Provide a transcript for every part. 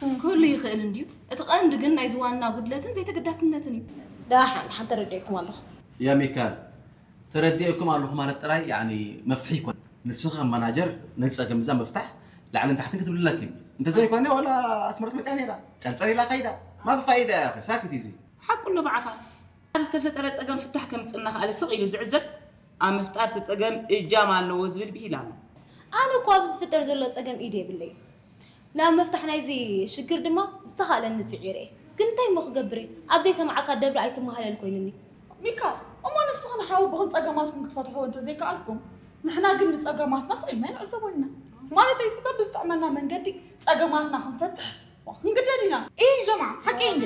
ክህሉ ይኽእል እንድዩ። እቲ ቀንዲ ግን ናይዚ ዋና ጉድለትን ዘይተገዳስነትን እዩ። ደሓን፣ ደሓን ተረዲኤኩም ኣለኹ። ያ ሚካል፣ ተረዲኤኩም ኣለኹ ማለት ጥራይ፣ ያዕኒ፣ መፍትሒ ይኮን። ንስኻ ከም ማናጀር ነዚ ጸገም እዛ ምፍታሕ ላዕልን ታሕትን ክትብልለኪ። እንተዘይኮነ ዋላ ኣስመረት መጽያ ነይራ። ጸርጸር ኢላ ከይዳ። ማፊ ፋይዳ ያኺ፣ ሳክት ኢዚ። ሓቁ ኣሎ ብዓፋ። ኣብ ዝተፈጠረ ጸገም ፍታሕ ከምጽእ እናኸኣለ ስቕ ኢሉ ዝዕዘብ፣ ኣብ ምፍጣር እቲ ጸገም እጃም ኣለዎ ዝብል ብሂል ኣሎ። ኣነ እኮ ኣብ ዝፍጠር ዘሎ ጸገም ኢድ የብለይ። ናብ ምፍታሕ ናይዚ ሽግር ድማ ዝተኻእለኒ ጽዒረ እየ። ግን እንታይ እሞ ክገብር እየ? ኣብ ዘይሰምዓካ ደብሪ ኣይትመሃለል ኮይኑኒ። ሚካ፣ እሞ ንስኽን ሓወቦኽን ጸገማትኩም ክትፈትሕዎ እንተዘይከኣልኩም፣ ንሕና ግን ንጸገማትና ስቕ ኢልና ንዕዘቦ ኢና። ማለተይሲ በብዝጥዕመና መንገዲ ጸገማትና ክንፈትሕ ክንግደድ ኢና። ኢሂ ጀምዓ፣ ሓቂ እንዴ?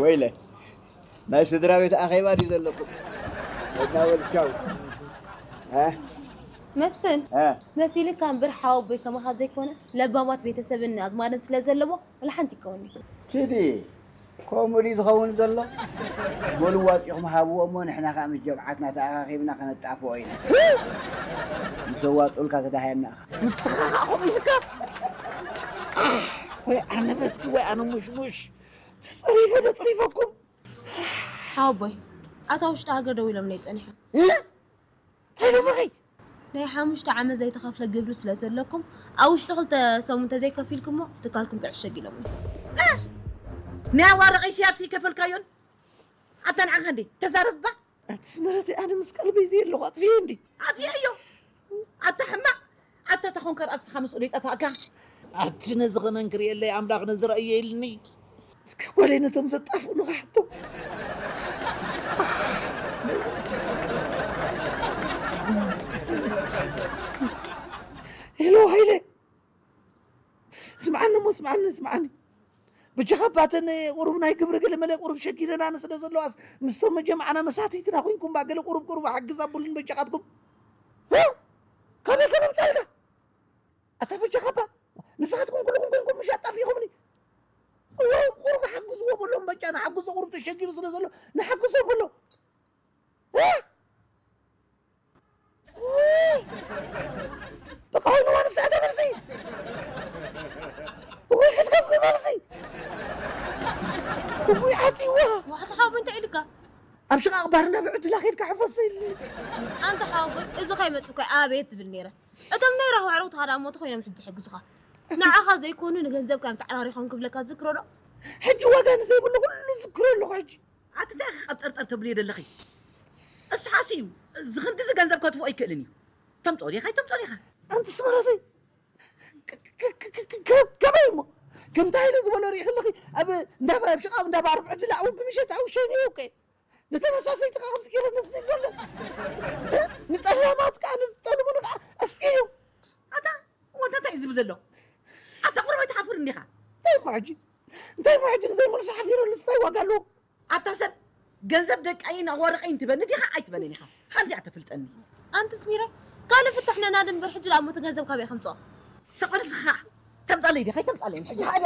ወይለ፣ ናይ ስድራ ቤት ኣኼባ ድዩ ዘለኩም? ወዳ ወልቻው። እ? መስፍን እ? መሲልካ እምበር ሓወቦይ ከማኻ ዘይኮነ ለባማት ቤተሰብን ኣዝማድን ስለ ዘለዎ ወላ ሓንቲ ይከውኒ። ችዲ፣ ከምኡ ድዩ ዝኸውን ዘሎ? በሉ ዋጢኹም ሃብዎ እሞ ንሕና ከኣ ምስ ጀምዓትና ተኣኻኺብና ከነጣፍኦ ኢና። ምስ ኣዋጡልካ ተዳህየና ኢኻ። ንስኻ ከኣ ከምኡ ኢልካ? ወይ ኣነ በትኪ ወይ ኣነ ሙሽሙሽ። ተጸሪፈ ዶ ጽሪፈኩም? ሓወቦይ ኣታ ውሽጢ ሃገር ደው ኢሎምለይ ጸኒሖም። እንታይ ኢሎምኺ? ናይ ሓሙሽተ ዓመት ዘይተኸፍለ ግብሪ ስለ ዘለኩም ኣብ ውሽጢ ክልተ ሰሙን እንተዘይከፊልኩሞ ትካልኩም ክዕሸግ ኢሎምኒ። ናይ ኣዋርቕ ኢስያስ ይከፈልካዮን ኣታ ንዓኻ እንዴ ተዛረብባ ኣቲ ስመረተይ ኣነ ምስ ቀልበይ ዘየለኹ ኣጥፍየ እንዲ ኣጥፍየዮ ኣታ ሕማቕ ኣታ ተኾንከ ርእስኻ ምስኡ ይጠፋእካ ኣቲ ነዚ ኸመን ክርእየለይ ኣምላኽ ነዚ ረእየ ኢልኒ እስከ ጓለይ ነቶም ዘጣፍኡኑ ክሓቶም ሄሎ ሃይለ ስምዓኒ እሞ ስምዓኒ ስምዓኒ በጃኻ ባተን ቁሩብ ናይ ግብሪ ገለ መለ ቁሩብ ሸጊረናን ስለ ዘለዋስ ምስቶም መጀማዕና መሳትይትና ኮንኩም ባ ገለ ቁሩብ ቁሩብ ሓግዝ ኣቡልን በጃኻትኩም ካበይ ከመምፃልካ ኣታ በጃኻ ባ ንስኻትኩም ኩልኹም ኮንኩም ምሽ ኣጣፊኹምኒ ቁሩብ ሓግዝዎ በሎም በጃ ንሓግዞ ቁሩብ ተሸጊሩ ስለ ዘሎ ንሓግዞ በሎ በቃ ሆይ ንዋን ሰዓት መልሲ ወይ ክትከፍ መልሲ ወይ ዓፂዋ ዋሕቲ ሓወቦይ እንታይ ኢልካ? ኣብ ሽቓቕ ባር ናብ ዕድላ ኸይድካ ሕፈስ ኢልኒ ኣንታ ሓወቦይ እዚ ከይመፅእ እኮ ኣቤት ዝብል ነይረ። እቶም ናይ ራህዋ ዕረውትኻ ደኣ እሞ ተኾይኖም ሕጂ ዝሕግዙኻ። ንዓኻ ዘይኮኑ ንገንዘብካ እዮም ተዓራሪኾም ክብለካ ትዝክሮ ዶ? ሕጂ ዋጋ ንዘይብሉ ኩሉ ዝክሮ ኣለኹ ሕጂ ኣቲ እንታይ ኢኺ ቀብጠርጠር ተብልዮ ዘለኺ? እስሓስ እዩ ዝኽንድዚ ገንዘብ ከትፍኦ ኣይክእልን እዩ። ተምፅኦ ዲኻ ኣይተምፅኦ ዲኻ? ኣንቲ ስመረተይ ከመይ እሞ ከምታ ኢለ ዝበሎ ርኢ ከለኺ ኣብ እንዳ ኣብ ሽቓብ እንዳ ባርብ ዕድል ኣው ብምሸት ኣው ሸይኑ እኮ ነተመሳሰይቲ ከዓ ከምዚ ገይረ ነስኒ ዘሎ ንፀላማት ከዓ ንዝጠልሙኒ ከዓ ኣስትዮ ኣታ ወንታ እንታይ እዩ ዝብል ዘሎ? ኣታ ቁርበይ ትሓፍር እንዲኻ እንታይ እሞ ሕጂ እንታይ እሞ ሕጂ ንዘይመልሱ ሓፊረሉ እንታይ ዋጋ ኣለዎ ኣታ ሰብ ገንዘብ ደቃይን ኣዋርቐይን ትበኒ ዲኻ ኣይትበንን ኢኻ ሓንቲ እያ ተፍልጠኒ ኣንትስ ሚረ ካልእ ፍትሕ ነናድ እምበር ሕጂ ደኣ ሞቲ ገንዘብ ካበይ ከምፅኦ ሰቐልስኻ ተምፃለይ ዲኻ ኣይተምፃለይን ሕጂ ሓደ